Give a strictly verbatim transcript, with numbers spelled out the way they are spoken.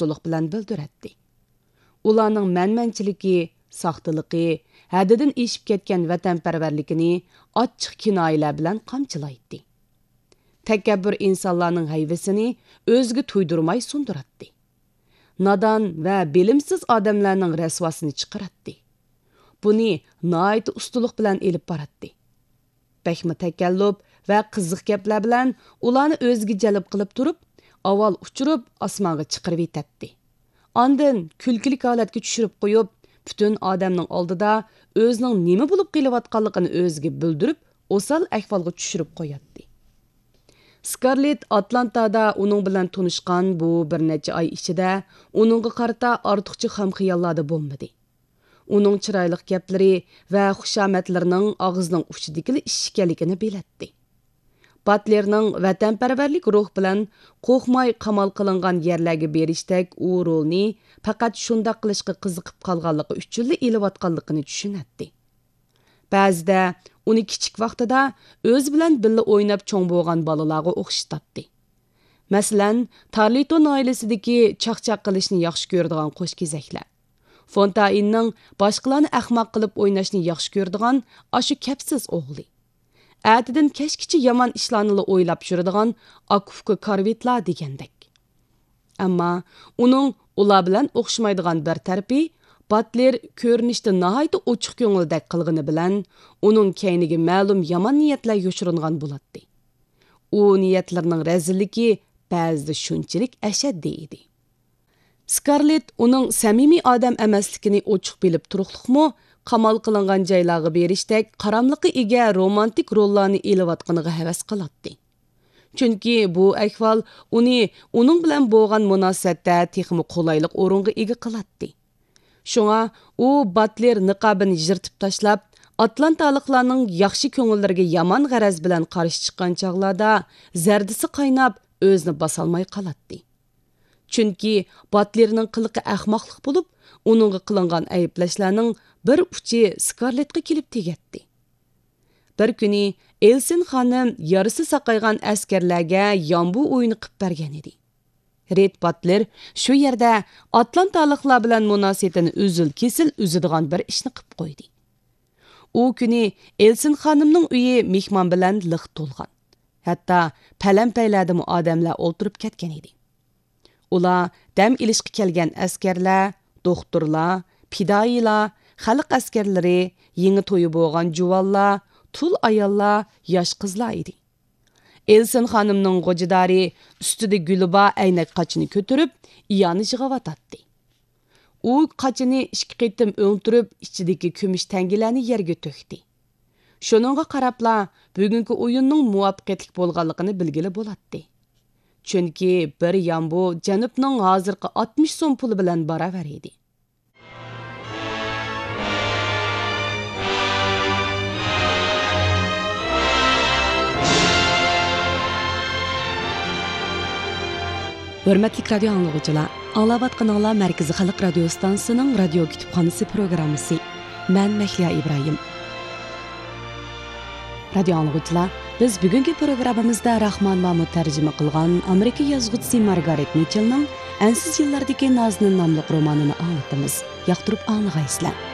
ئۇستىلىق بىلەن بىلدۈرەتتى. ئۇلارنىڭ مەنمەنچىلىكى، ساختىلىقى، ھەددىدىن ئېشىپ كەتكەن ۋەتەنپەرۋەرلىكىنى ئاچچىق كىنايىلەر بىلەن قامچىلايتتى. تەكەببۇر ئىنسانلارنىڭ ھەيۋىسىنى ئۆزىگە تۇيدۇرماي سۇندۇراتتى. نادان ۋە بىلىمسىز ئادەملەرنىڭ رەسۋاسىنى چىقىراتتى. بۇنى ناھايىتى ئۇستىلىق بىلەن ئېلىپ باراتتى. بەكمۇ تەكەللۇپ ۋە قىزىق گەپلەر بىلەن ئۇلارنى ئۆزىگە جەلپ قىلىپ تۇرۇپ، ئاۋۋال ئۇچۇرۇپ ئاسمانغا چىقىرىۋېتەتتى. ئاندىن كۈلكىلىك ھالەتكە چۈشۈرۈپ قويۇپ، پۈتۈن ئادەمنىڭ ئالدىدا ئۆزىنىڭ نېمە بولۇپ قېلىۋاتقانلىقىنى ئۆزىگە بىلدۈرۈپ، ئوسال ئەھۋالغا چۈشۈرۈپ قوياتتى. سكارلېت ئاتلانتادا ئۇنىڭ بىلەن تونۇشقان بۇ بىر نەچچە ئاي ئىچىدە ئۇنىڭغا قارىتا ئارتۇقچە خام خىياللاردا بولمىدى. ئۇنىڭ چىرايلىق گەپلىرى ۋە خۇشامەتلىرىنىڭ ئاغزىنىڭ ئۇچىدىكىلا ئىش ئىكەنلىكىنى بىلەتتى. باتلېرنىڭ ۋەتەنپەرۋەرلىك روھ بىلەن قورقماي قامال قىلىنغان يەرلەرگە بېرىشتەك ئۇ رولنى پەقەت شۇنداق قىلىشقا قىزىقىپ قالغانلىقى ئۈچۈنلا ئېلىۋاتقانلىقىنى چۈشىنەتتى. بەزىدە ئۇنى كىچىك ۋاقتىدا ئۆزى بىلەن بىللە ئويناپ چوڭ بولغان بالىلارغا ئوخشىتاتتى. مەسىلەن، تارلىتون ئائىلىسىدىكى چاقچاق قىلىشنى ياخشى كۆرىدىغان قوشكېزەكلەر، فونتائىننىڭ باشقىلارنى ئەخمەق قىلىپ ئويناشنى ياخشى كۆرىدىغان ئاشۇ كەپسىز ئوغلى، ئەتىدىن كەچكىچە يامان ئىشلارنىلا ئويلاپ يۈرىدىغان ئاكا-ئۇكا كارۋىتلار دېگەندەك. ئەمما ئۇنىڭ ئۇلار بىلەن ئوخشىمايدىغان بىر تەرىپى، باتلېر كۆرۈنۈشتە ناھايىتى ئوچۇق كۆڭۈلدەك قىلغىنى بىلەن، ئۇنىڭ كەينىگە مەلۇم يامان نىيەتلەر يوشۇرۇنغان بولاتتى. ئۇ نىيەتلىرىنىڭ رەزىللىكى بەزىدە شۇنچىلىك ئەشەددىي ئىدى. سكارلېت ئۇنىڭ سەمىمىي ئادەم ئەمەسلىكىنى ئوچۇق بىلىپ تۇرۇقلۇقمۇ، قامال قىلىنغان جايلارغا بېرىشتەك قاراملىققا ئىگە رومانتىك روللارنى ئېلىۋاتقىنىغا ھەۋەس قىلاتتى. چۈنكى بۇ ئەھۋال ئۇنى ئۇنىڭ بىلەن بولغان مۇناسىۋەتتە تېخىمۇ قولايلىق ئورۇنغا ئىگە قىلاتتى. شۇڭا ئۇ باتلېر نىقابىنى يىرتىپ تاشلاپ، ئاتلانتالىقلارنىڭ ياخشى كۆڭۈللىرىگە يامان غەرەز بىلەن قارشى چىققان چاغلاردا زەردىسى قايناپ، ئۆزىنى باسالماي قالاتتى. چۈنكى باتلېرنىڭ قىلىقى ئەخمەقلىق بولۇپ، ئۇنىڭغا قىلىنغان ئەيىبلەشلەرنىڭ بىر ئۇچى سكارلېتقا كېلىپ تېگەتتى. بىر كۈنى ئېلسىن خانىم يارىسى ساقايغان ئەسكەرلەرگە يامبۇ ئويۇنى قىپ بەرگەن ئىدى. رېد باتلېر شۇ يەردە ئاتلانتالىقلار بىلەن مۇناسىۋىتىنى ئۈزۈل-كېسىل ئۈزىدىغان بىر ئىشنى قىپ قويدى. ئۇ كۈنى ئېلسىن خانىمنىڭ ئۆيى مېھمان بىلەن لىق تولغان. ھەتتا پەلەمپەيلەردىمۇ ئادەملەر ئولتۇرۇپ كەتكەن ئىدى. ئۇلار دەم ئېلىشقا كەلگەن ئەسكەرلەر، دوختۇرلار، پىدائىيلار، خەلق ئەسكەرلىرى، يېڭى تويى بولغان جۇۋانلار، تۇل ئاياللار، ياش قىزلار ئىدى. ئېلسىن خانىمنىڭ غوجىدارى ئۈستىدە گۈلى بار ئەينەك قاچىنى كۆتۈرۈپ، ئىئانە يىغىۋاتاتتى. ئۇ قاچىنى ئىككى قېتىم ئۆڭتۈرۈپ، ئىچىدىكى كۈمۈش تەڭگىلەرنى يەرگە تۆكتى. شۇنىڭغا قاراپلا، بۈگۈنكى ئويۇننىڭ مۇۋەپپەقىيەتلىك بولغانلىقىنى بىلگىلى بولاتتى. چۈنكى بىر يامبۇ جەنۇبنىڭ ھازىرقى ئاتمىش سوم پۇلى بىلەن باراۋەر ئىدى. ھۆرمەتلىك رادىيو ئاڭلىغۇچىلار، ئاڭلاۋاتقىنىڭلار مەركىزىي خەلق رادىيو ئىستانسىسىنىڭ رادىيو كۇتۇپخانىسى پروگراممىسى. مەن مەھلىيا ئىبراھىم. رادىيو ئاڭلىغۇچىلار، بىز بۈگۈنكى پروگراممىمىزدا راخمان مامۇت تەرجىمە قىلغان ئامېرىكا يازغۇچىسى مارگارېت مىچېلنىڭ ئەنسىز يىللاردىكى نازنىن ناملىق رومانىنى ئاڭلىتىمىز. ياقتۇرۇپ ئاڭلىغايسىلەر.